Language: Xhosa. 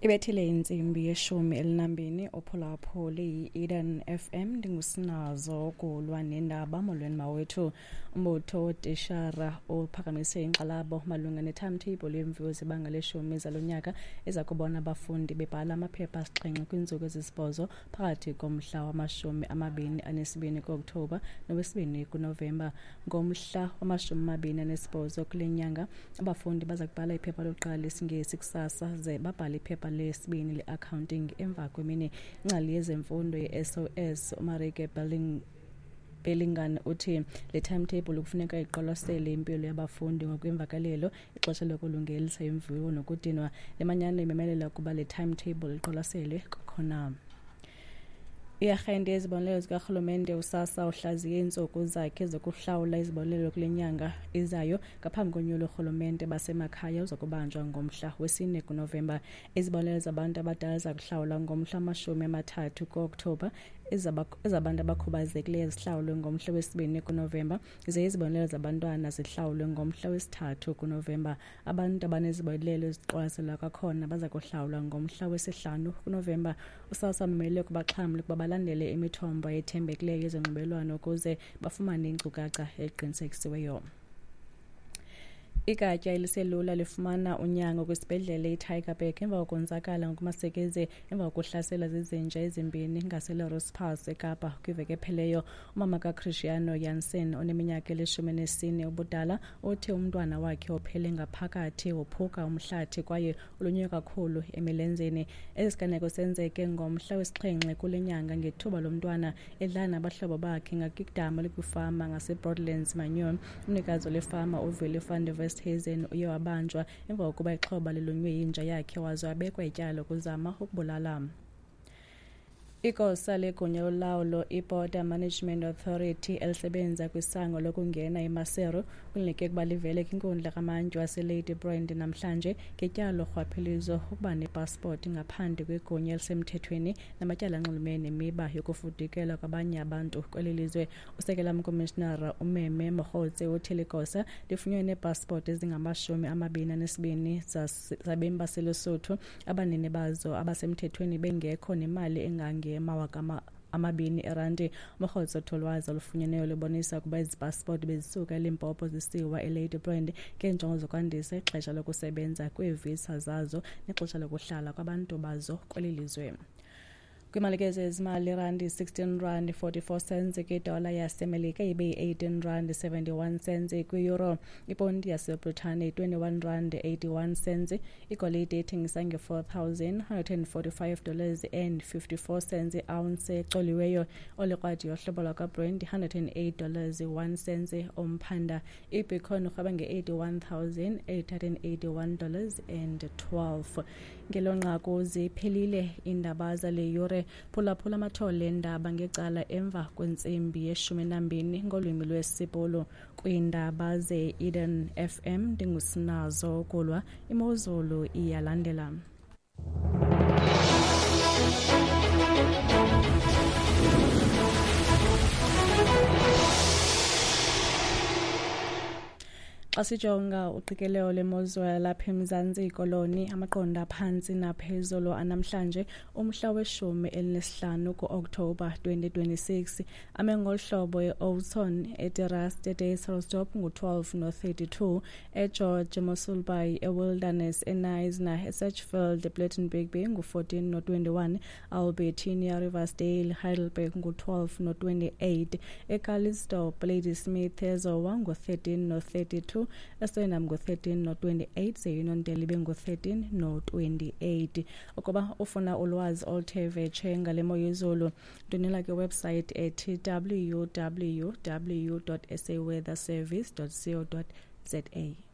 Ibethile intsimbi yeshumi elinambini uphulaphuli yi-Eden FM, ndingusinazo kulwa nendaba. Molweni mawethu. Umbutho wotishara uphakamise inkxalabo malunga ne-timetable yemviwo zebanga leshumi zalo nyaka eza kubona abafundi bebhala amaphepha asixhenxe kwiintsuku ezisibhozo phakathi komhla wama-22 kuOkthobha nowesibini kuNovemba. Ngomhla wama-28 kule nyanga abafundi baza kubhala iphepha lokuqala lesiNgesi kusasa ze babhale iphepha lesibini le-accounting emva kwemini. Ingcali yezemfundo ye-SOS uMarike Bellingham uthi le timetable kufuneka iqwalasele impilo yabafundi ngokwemvakalelo, ixesha lokulungelisa imviwo nokudinwa. Le manyano imemelela ukuba le timetable iqwalaselwe kwakhona. Iarhente yezibonelelo zikarhulumente uSASSA uhlaziye iintsuku zakhe zokuhlawula izibonelelo kule nyanga izayo ngaphambi konyulo lorhulumente basemakhaya uza kubanjwa ngomhla wesine kuNovemba. Izibonelelo zabantu abadala ziza kuhlawulwa ngomhla wama-30 kuOkthobha, ezabantu abakhubazekileyo zihlawulwe ngomhla wesibini kuNovemba, ze izibonelelo zabantwana zihlawulwe ngomhla wesithathu kuNovemba. Abantu abanezibonelelo eziqwalaselwa kwakhona baza kuhlawulwa ngomhla wesihlanu kuNovemba. USASSA umele kubaxhamli ukuba balandele imithombo ethembekileyo yezonxibelelwano ukuze bafumane iinkcukacha eziqinisekisiweyo. Igatya eliselula lifumana unyango kwisibhedlele iTygerberg emva kokonzakala ngokumasikizi emva kokuhlaselwa zizinja ezimbini ngaseLoris Pass eKapa kwiveki epheleyo. Umama kaChristiano Jansen oneminyaka eli-14 ubudala uthi umntwana wakhe uphele ngaphakathi wophuka umhlathi kwaye ulunywe kakhulu emilenzeni. Esi siganeko senzeke ngomhla wesixhenxe kule nyanga ngethuba lomntwana edlala nabahlobo bakhe ngakwidama elikwifama ngaseBroadlands Manure. Umnikazi wale fama uWillie van der Westhuizen uye wabanjwa emva kokuba ixhoba lilunywe yinja yakhe waze wabekwa ityala lokuzama ukubulala. Igosa legunya lolawulo iBorder Management Authority elisebenza kwisango lokungena eMaseru kulindeleke ukuba livele kwinkundla kamantyi waseLady Brand namhlanje ngetyala lorhwaphilizo, ukuba nepasipoti ngaphandle kwegunya elisemthethweni namatyala anxulumene nemiba yokufudukela kwabanye abantu kweli lizwe. Usekela mkomishinara uMeme Mogotsi uthi ligosa lifunyenwe neepasipoti ezingama-22 zabemi baseLesotho abanini bazo abasemthethweni bengekho nemali engange-2000 erandi. Mogotsi uthi ulwazi olufunyeneyo lubonisa ukuba ezi pasipoti bezisuka eLimpopo zisiwa eLady Brand ngeenjongo zokwandisa ixesha lokusebenza kweevisa zazo nexesha lokuhlala kwabantu bazo kweli lizwe. Kwimalike zezimali, irandi 16 rand 44 cents kwidola yaseMelika, ibe yi-18 rand 71 cents kwi-euro. Iponti yaseBritane 21 rand 81 cents. Igolide ithengisa nge-$4,145 and 54 cents i-ounce ecoliweyo. Olikrwadi yohlobo lwakwaBrent $108 1 cents umphanda. Ibitcoin urhweba nge-$81,881 and 12. Ngelo nqaku ziphelile iindaba zale yure. Phulaphula amathole endaba ngecala emva kwentsimbi yeshumi nambini ngolwimi lwesiBhulu. Kwiindaba ze-Eden FM ndingusinazo kulwa. Imozulu iyalandela. Xa sijonga uqikelelo lwemozulu yalapha eMzantsi Koloni, amaqondo aphantsi naphezulu anamhlanje umhla weshumi elineshlanu kuOkthobha 2026 ame ngolu hlobo: e-Oudtshoorn, eTerrace, eDysselsdorp ngu-12 no-32, eGeorge, eMossel Bay, eWilderness, eKnysna, eSedgefield, ePlettenberg Bay ngu-14 no-21, Albertinia, Riversdale, Heidelberg ngu-12 no-28, eCalitzdorp, Ladysmith, eZowa ngu-13 no-32, eSwellnum ngu-13 no-28, ze-Uniondale ibe ngu-13 no-28. Ukuba ufuna ulwazi oluthe vetshe ngale mo yezulu, ndwendwela kwiwebsite ethi www.saweatherservice.co.za.